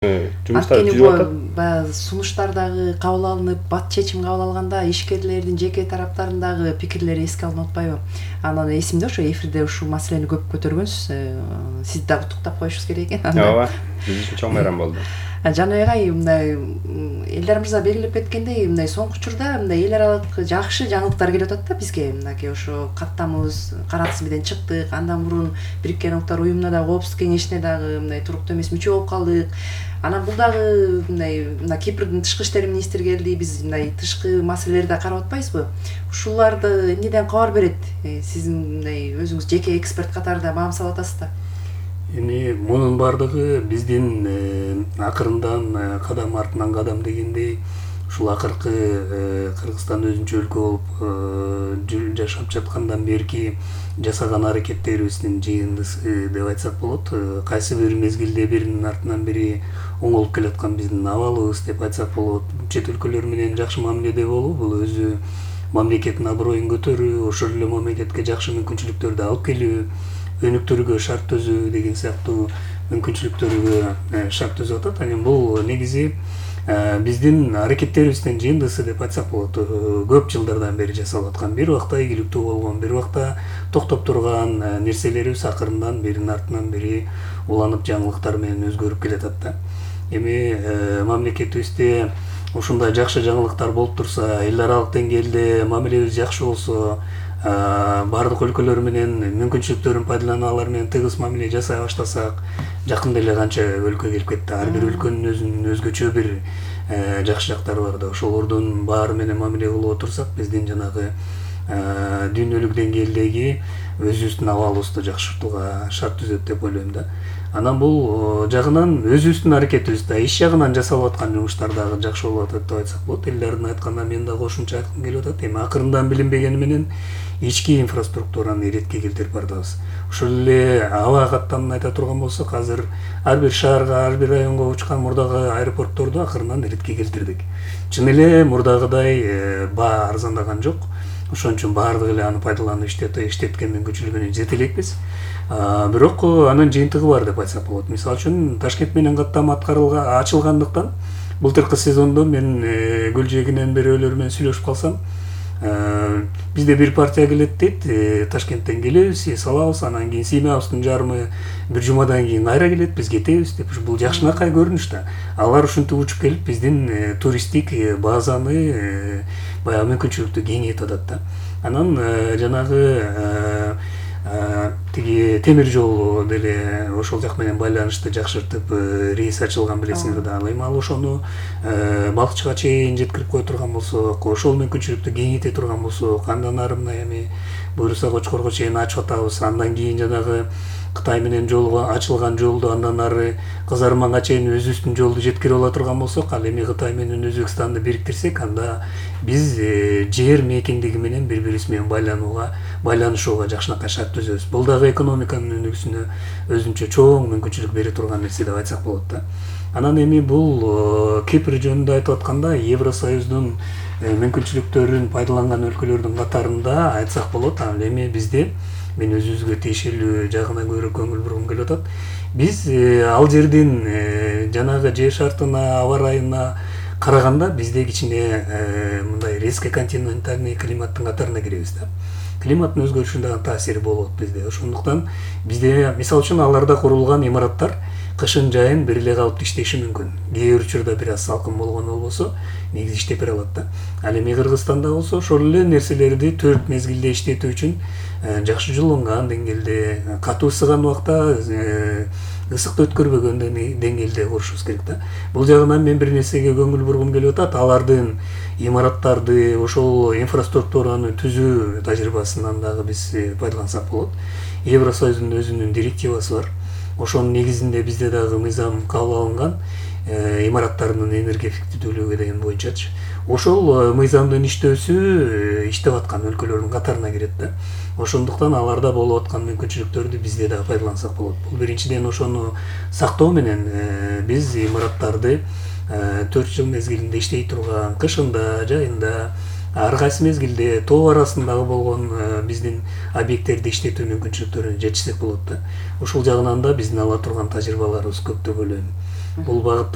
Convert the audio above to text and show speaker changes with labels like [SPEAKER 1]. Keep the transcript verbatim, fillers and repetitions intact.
[SPEAKER 1] жумуштар
[SPEAKER 2] Анткени
[SPEAKER 1] жүрүп атат.
[SPEAKER 2] баягы сунуштар дагы кабыл алынып, бат чечим кабыл алганда ишкерлердин жеке тараптарындагы пикирлери эске алынып атпайбы? Анан эсимде ошо эфирде ушул маселени көп көтөргөнсүз. Сизди дагы куттуктап коюшубуз керек экен.
[SPEAKER 1] Ооба, биз үчүн чоң майрам болду.
[SPEAKER 2] Жаныбек ай, мындай Элдар мырза белгилеп кеткендей, мындай соңку учурда мындай эл аралык жакшы жаңылыктар келип атат да бизге. Мынакей ошо каттамыбыз Каратыс менен чыктык. Андан мурун Бириккен Улуттар уюмуна дагы, Коопсуздук кеңешине дагы мындай туруктуу эмес мүчө болуп калдык. Анан бул дагы мындай мына Кипрдин тышкы иштер министри келди. Биз мындай тышкы маселелерди да карап атпайбызбы? Ушуларды эмнеден кабар берет? Сиздин мындай өзүңүз жеке эксперт катарында маам салып атасыз да.
[SPEAKER 3] Эми мунун бардыгы биздин акырындан кадам артынан кадам дегендей ушул акыркы Кыргызстан өзүнчө өлкө болуп жашап жаткандан берки жасаган аракеттерибиздин жыйындысы деп айтсак болот. Кайсы бир мезгилде биринин артынан бири оңолуп келаткан биздин абалыбыз деп айтсак болот. Чет өлкөлөр менен жакшы мамиледе болуу бул өзү мамлекеттин аброюн көтөрүү, ошол эле мамлекетке жакшы мүмкүнчүлүктөрдү алып келүү, өнүктүрүүгө шарт түзүү деген сыяктуу мүмкүнчүлүктөргө шарт түзүп атат. Анан бул негизи биздин аракеттерибиздин жыйындысы деп айтсак болот. Көп жылдардан бери жасалып аткан, бир убакта ийгиликтүү болгон, бир убакта токтоп турган нерселерибиз акырындан биринин артынан бири уланып жаңылыктар менен өзгөрүп келатат да. Эми мамлекетибизде ушундай жакшы жаңылыктар болуп турса, эл аралык деңгээлде мамилебиз жакшы болсо, бардык өлкөлөр менен мүмкүнчүлүктөрүн пайдаланып алар менен тыгыз мамиле жасай баштасак, жакында эле канча өлкө келип кетти. Ар бир өлкөнүн өзүнүн өзгөчө бир жакшы жактары бар да. Ошолордун баары менен мамиле кылып отурсак, биздин жанагы дүйнөлүк деңгээлдеги өзүбүздүн абалыбызды жакшыртууга шарт түзөт деп ойлойм да. Анан бул жагынан өзүбүздүн аракетибиз да, иш жагынан жасалып аткан жумуштар дагы жакшы болуп атат деп айтсак болот. Элдердин айтканына мен да кошумча айткым келип атат. Эми акырындан билинбегени менен ички инфраструктураны иретке келтирип бардыбыз. Ошол эле аба каттамын айта турган болсок, азыр ар бир шаарга, ар бир районго учкан мурдагы аэропортторду акырындан иретке келтирдик. Чын эле мурдагыдай баа арзандаган жок. Ошон үчүн баардыгы эле аны пайдаланып иштеткен мүмкүнчүлүгүнө жете элекпиз. Бирок анын жыйынтыгы бар деп айтсак болот. Мисалы үчүн Ташкент менен каттам аткарылган ачылгандыктан былтыркы сезондо мен Гүлжегинен бирөөлөр менен сүйлөшүп калсам, бизде бир партия келет дейт, Ташкенттен келебиз, эс алабыз, анан кийин сыймабыздын жарымы бир жумадан кийин кайра келет, биз кетебиз деп. Бул жакшынакай көрүнүш да. Алар ушинтип учуп келип биздин туристтик базаны баягы мүмкүнчүлүктү кеңейтип атат да. Анан жанагы тиги темир жол деле ошол жак менен байланышты жакшыртып рейс ачылган билесиңер да. Эми ал ошону балкычка чейин жеткирип кое турган болсок, ошол мүмкүнчүлүктү кеңейте турган болсок, андан ары мына эми буюрса Кочкорго чейин ачып атабыз. Андан кийин жанагы Кытай менен жолго ачылган жолду андан ары Кызарманга чейин өзүбүздүн жолду жеткирип ала турган болсок, ал эми Кытай менен Өзбекстанды бириктирсек, анда биз жер мейкиндиги менен бири-бирибиз менен байланууга, байланышууга жакшынакай шарт түзөбүз. Бул дагы экономиканын өнүгүүсүнө өзүнчө чоң мүмкүнчүлүк бере турган нерсе деп айтсак болот да. Анан эми бул Кипр жөнүндө айтып атканда, Евросоюздун мүмкүнчүлүктөрүн пайдаланган өлкөлөрдүн катарында айтсак болот. Ал эми бизде мен өзүбүзгө тиешелүү жагына көрө көңүл бургум келип атат. Биз ал жердин жанагы жер шартына, аба ырайына караганда бизде кичине мындай резко континентальный климаттын катарына киребиз да. Климаттын өзгөрүшүнө таасири болот бизде. Ошондуктан бизде мисалы үчүн аларда курулган имараттар кышын жайын бир эле калыпта иштеши мүмкүн. Кээ бир учурда бир аз салкын болгону болбосо, негизи иштеп бере алат да. Ал эми Кыргызстанда болсо ошол эле нерселерди төрт мезгилде иштетүү үчүн жакшы жууланган деңгээлде, катуу ысыган убакта ысыкты өткөрбөгөн деңгээлде курушубуз керек да. Бул жагынан мен бир нерсеге көңүл бургум келип атат. Алардын имараттарды, ошол инфраструктураны түзүү тажрыйбасынан дагы биз пайдалансак болот. Евросоюздун өзүнүн директивасы бар. Ошонун негизинде бизде дагы мыйзам кабыл алынган, имараттардын энергия эффективдүүлүгү деген боюнчачы. Ошол мыйзамдын иштөөсү иштеп аткан өлкөлөрдүн катарына кирет да. Ошондуктан аларда болуп аткан мүмкүнчүлүктөрдү бизде дагы пайдалансак болот. Бул биринчиден ошону сактоо менен биз имараттарды төрт жыл мезгилинде иштей турган, кышында, жайында, ар кайсы мезгилде тоо арасындагы болгон биздин объекттерди иштетүү мүмкүнчүлүктөрүнө жетишсек болот да. Ошол жагынан да биздин ала турган тажрыйбаларыбыз көп деп ойлойм. бул багытта